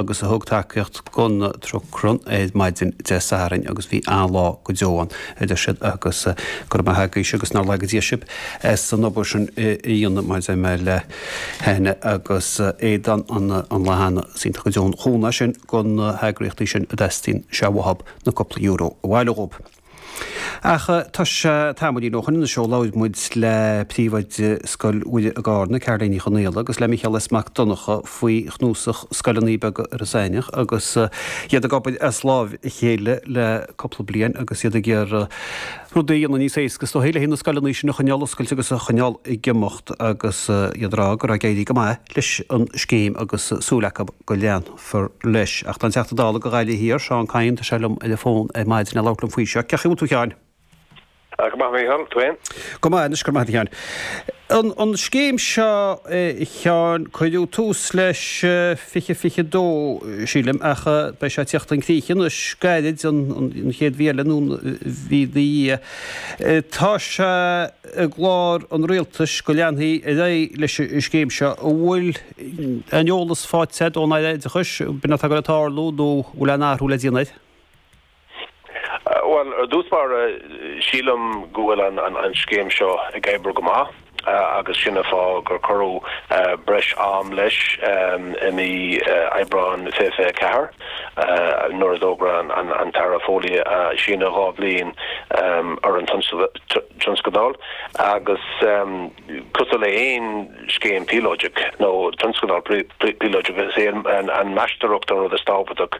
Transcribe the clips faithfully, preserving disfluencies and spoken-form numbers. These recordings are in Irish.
Agus a thug tacaíocht don Truck Run ar maidin Dé Sathairn agus bhí an-lá go deo ann, a deir siad, agus go raibh maith agaibhse agus nár laga Dia sibh as an obair sin a dhéanamh mar deir mé le hAithne agus Aodán an lá cheana. Is iontach go deo an cúnamh é sin do na heagraíochtaí sin a dteastaíonn sé uathu na cúpla euro a bhailiú dhóibh. Ach tá sé tamaillín ó shoin anois ó labhair muid le príomhoide Scoil Mhuire i gCarna, Caroline Ní Chonaola, agus le Micheál S. Mac Donncha faoi chnuasach Scoileanna Beaga Iorras Aithneach agus iad ag obair as láimh a chéile le cúpla bliain agus iad ag iarraidh rudaí a dhéanamh níos éasca is dóichí le haghaidh na scoileanna sin a choinneáil oscailte agus a choinneáil ag imeacht agus iad ag rá go raibh ag éirí go maith leis an scéim agus súil acu go leanfar leis. Ach tá an Teachta Dála do Ghaillimh Thiar, Seán Kyne, tá sé liom ar an bhfón ar maidin le labhairt liom faoi seo. Cén chaoi a bhfuil tú, a Sheáin? Go maith, Mícheál, tú féin? Go maith anois, go raibh maith agat, a Sheáin. An, an scéim seo, a Sheáin, cuireadh tús leis fiche fiche dó, sílim, ach beidh sé ag teacht chun críche anois gairid, an, an chéad mhí eile nó an mhí ina dhiaidh. Tá sé i gclár an rialtais go leanfaí ar aghaidh leis an scéim seo. An bhfuil aon eolas faighte agat ón Aire Oideachais, b'in atá ag dul a tarlú nó an bhfuil aon athrú le déanamh air? Bhuel, ar dtús báire, sílim go bhfuil an an scéim seo ag oibriú go maith agus sin an fáth gur cuireadh breis am leis i mí Aibreáin fiche fiche a ceathair nuair a d'fhógair an tAire Foley síneadh dhá bhliain ar an tionscadal agus cosúil le haon scéim píolóideach nó tionscadal píolóideach, is é an mheastóireacht an rud is tábhachtach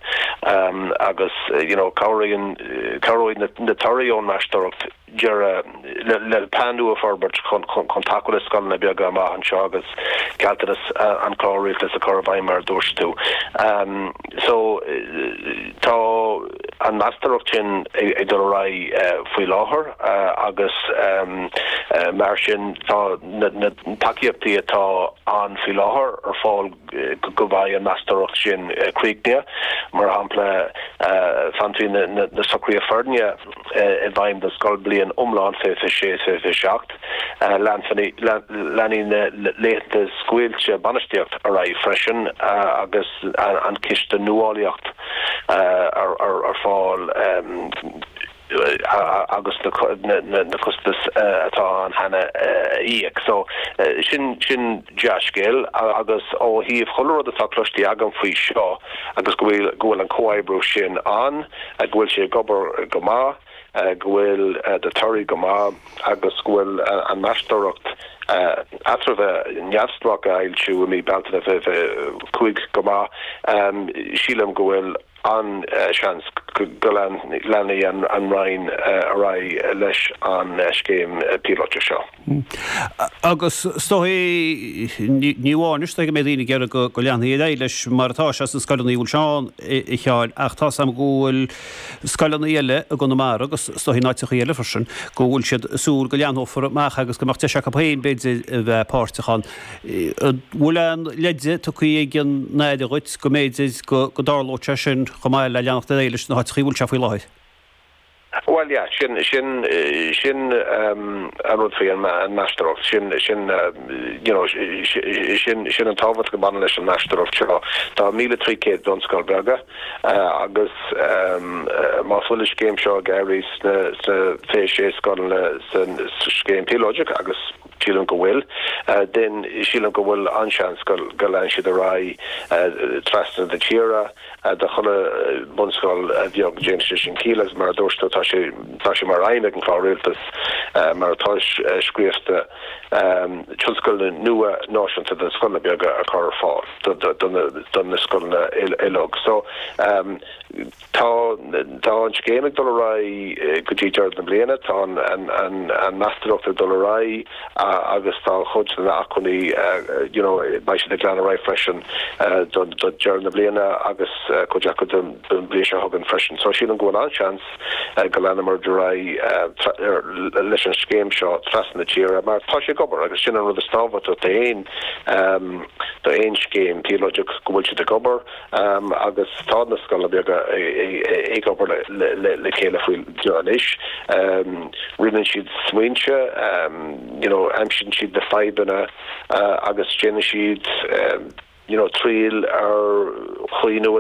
agus you know cabhraíonn cabhróidh na torthaí ón mheastóireacht deireadh le plean nua a fhorbairt chun chun tacú le scoileanna beaga amach anseo agus gealltanas an chlár rialtais a chur i bhfeidhm mar a dúirt tú. So tá an mheastóireacht sin ag dul ar aghaidh faoi láthair agus mar sin tá na tacaíochtaí atá ann faoi láthair ar fáil go mbeidh an mheastóireacht sin críochnaithe. Mar shampla, fanfaidh na socruithe foirne i bhfeidhm don scoilbhliain iomlán fiche fiche sé fiche fiche seacht. Leanfaidh na laethanta scaoilte bainistíocht ar aghaidh freisin agus an ciste nuálaíocht ar fáil agus na costais atá ann cheana a íoc. So sin sin dea-scéal agus ó thaobh chuile rud atá cloiste agam faoi seo agus go bhfuil go bhfuil an comhoibriú sin ann, go bhfuil sé ag obair go maith, go bhfuil na torthaí go maith agus go bhfuil an mheastóireacht eatramhach neamhspleách a fhoilsiú i mí Bealtaine fiche fiche cúig go maith, sílim go bhfuil an-seans go leanfaidh an Roinn ar aghaidh leis an scéim píolótach seo. Agus is dóigh, ní amháin is dóigh go mbeidh daoine ag iarraidh go leanfaí ar aghaidh leis mar atá sé sna scoileanna a bhfuil sé ann, a Sheáin, ach tá 's agam go bhfuil scoileanna eile i gConamara agus is dóigh in áiteacha eile freisin, go bhfuil siad ag súil go leathnófar amach agus go mbeadh deis acu féin, b'fhéidir, a bheith páirteach ann. An bhfuil aon leide tugtha ag an Aire dhuit go mb'fhéidir go dtarlódh sé sin chomh maith le leanacht ar aghaidh leis na háiteacha a bhfuil sé faoi láthair? Bhuel, yeah, sin, sin, sin an rud faoi an meastóireacht, sin, sin, you know, sin, sin an tábhacht a bhaineann leis an meastóireacht seo. Tá míle trí chéad bunscoil beaga agus más bhfuil an scéim seo ag éirí sna, sna fiche sé scoileanna sa scéim píolóideach agus sílim go bhfuil, then sílim go bhfuil an-seans go, go leanfaidh siad ar aghaidh trasna na tíre. Do chuile bunscoil bheag déanann sé sin ciall agus mar a dúirt tú tá sé tá sé mar aidhm ag an chlár rialtais mar atá scríofa tionscadal nua náisiúnta do scoileanna beaga a chur ar fáil do na scoileanna uilig. So tá tá an scéim ag dul ar aghaidh go dtí deireadh na bliana, tá an an meastóireacht ag dul ar aghaidh agus tá chuid de na acmhainní you know beidh siad ag lean ar aghaidh freisin do do deireadh na bliana agus cuid acu don don bhliain seo chugainn freisin. So sílim go bhfuil an-seans go leanfar ar aghaidh leis an scéim seo trasna na tíre mar tá sé ag obair agus sin an rud is tábhachtaí d'aon d'aon scéim píolóideach go bhfuil siad ag obair agus tá na scoileanna beaga ag obair le chéile faoi anois. Roinneann siad smaointe, you know, aimsíonn siad na fadhbanna agus déanann siad you know, triail ar chaoineadh.